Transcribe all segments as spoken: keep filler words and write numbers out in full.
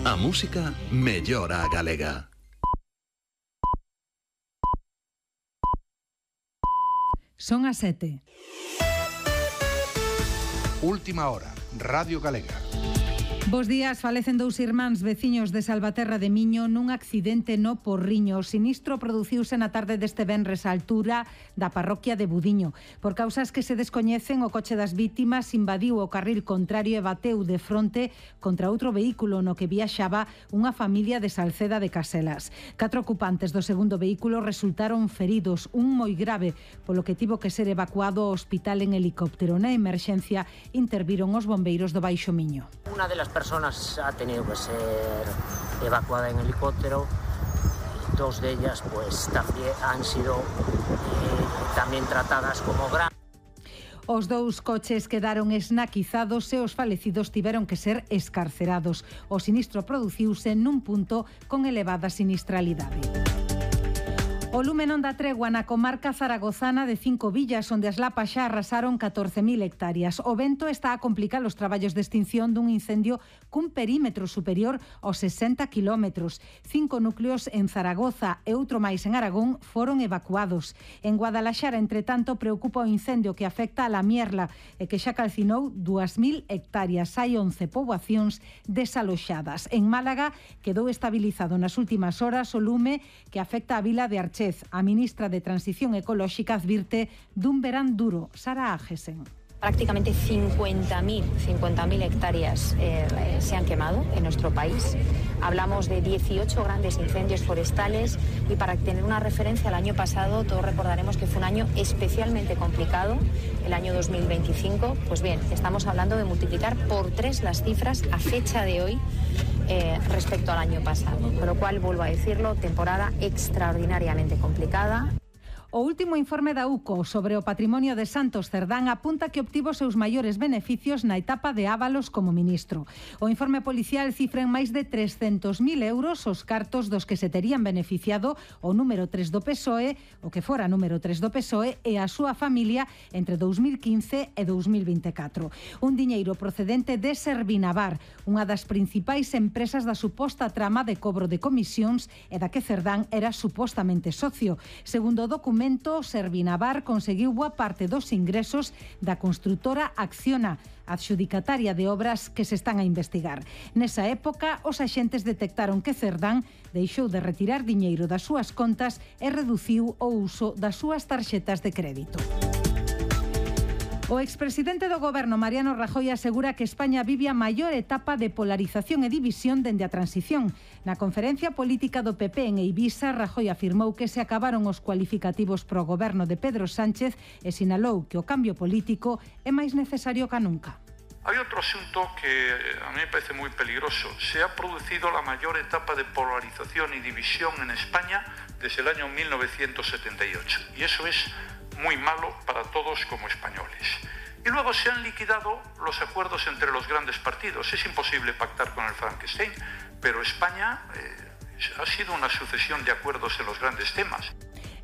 A música mellora a galega. Son as sete. Última hora, Radio Galega. Bos días, falecen dous irmáns veciños de Salvaterra de Miño nun accidente no Porriño. O sinistro produciuse na tarde deste venres á altura da parroquia de Budiño. Por causas que se descoñecen, o coche das vítimas invadiu o carril contrario e bateu de fronte contra outro vehículo no que viaxaba unha familia de Salceda de Caselas. Catro ocupantes do segundo vehículo resultaron feridos, un moi grave, polo que tivo que ser evacuado ao hospital en helicóptero. Na emerxencia interviron os bombeiros do Baixo Miño. Una de las personas ha tenido que ser evacuada en helicóptero. Dos de ellas pues también han sido eh, también tratadas como graves. Os dous coches quedaron esnaquizados e os falecidos tiveron que ser escarcerados. O sinistro produciuse nun punto con elevada sinistralidade. O lume non dá tregua na comarca zaragozana de Cinco Villas, onde as lapas xa arrasaron catorce mil hectáreas. O vento está a complicar os traballos de extinción dun incendio cun perímetro superior aos sesenta kilómetros. Cinco núcleos en Zaragoza e outro máis en Aragón foron evacuados. En Guadalaxara, entre tanto, preocupa o incendio que afecta a La Mierla e que xa calcinou dúas mil hectáreas. Hai once poboacións desaloxadas. En Málaga quedou estabilizado nas últimas horas o lume que afecta a vila de Arché. A ministra de Transición Ecolóxica advirte dun verán duro. Sara Ágesen. Prácticamente cincuenta mil hectáreas eh, se han quemado en nuestro país. Hablamos de dieciocho grandes incendios forestales y para tener una referencia al año pasado, todos recordaremos que fue un año especialmente complicado, el año dos mil veinticinco. Pues bien, estamos hablando de multiplicar por tres las cifras a fecha de hoy eh, respecto al año pasado. Con lo cual, vuelvo a decirlo, temporada extraordinariamente complicada. O último informe da U C O sobre o patrimonio de Santos Cerdán apunta que obtivo seus maiores beneficios na etapa de Ábalos como ministro. O informe policial cifra en máis de trescentos mil euros os cartos dos que se terían beneficiado o número tres do P S O E, o que fora número tres do P S O E e a súa familia entre dous mil quince e dous mil vinte e catro. Un diñeiro procedente de Servinavar, unha das principais empresas da suposta trama de cobro de comisións e da que Cerdán era supostamente socio. Segundo o documento, Servinavar conseguiu boa parte dos ingresos da construtora Acciona, adxudicataria de obras que se están a investigar. Nesa época, os axentes detectaron que Cerdán deixou de retirar diñeiro das súas contas e reduciu o uso das súas tarxetas de crédito. O expresidente do goberno Mariano Rajoy asegura que España vive a maior etapa de polarización e división dende a transición. Na conferencia política do P P en Eivisa, Rajoy afirmou que se acabaron os cualificativos pro goberno de Pedro Sánchez e sinalou que o cambio político é máis necesario que nunca. Hay otro asunto que a mí me parece muy peligroso. Se ha producido la mayor etapa de polarización y división en España desde el año mil novecientos setenta y ocho. Y eso es muy malo para todos como españoles. Y luego se han liquidado los acuerdos entre los grandes partidos. Es imposible pactar con el Frankenstein, pero España eh, ha sido una sucesión de acuerdos en los grandes temas.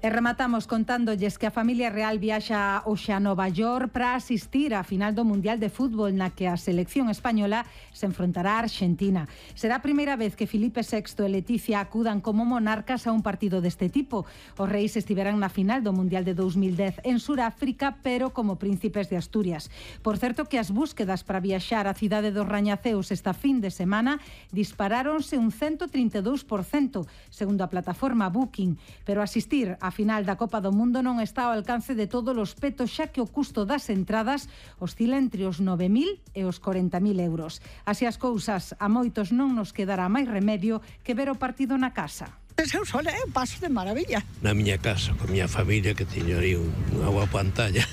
E rematamos contándolles que a familia real viaxa hoxe a Nova York para asistir á final do Mundial de Fútbol na que a selección española se enfrontará a Argentina. Será a primeira vez que Filipe sexto e Leticia acudan como monarcas a un partido deste tipo. Os reis estiveran na final do Mundial de dos mil dez en Suráfrica, pero como príncipes de Asturias. Por certo que as búsquedas para viaxar á cidade dos Rañaceos esta fin de semana disparáronse un ciento trinta e dous por cento, segundo a plataforma Booking, pero asistir a A final da Copa do Mundo non está ao alcance de todos os petos, xa que o custo das entradas oscila entre os nove mil e os corenta mil euros. Así as cousas, a moitos non nos quedará máis remedio que ver o partido na casa. Eu só é un paso de maravilla. Na miña casa, con miña familia, que teño aí unha boa pantalla.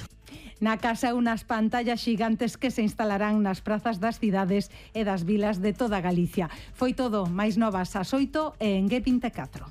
Na casa unas pantallas xigantes que se instalarán nas prazas das cidades e das vilas de toda Galicia. Foi todo, máis novas ás oito e en G vinte e catro.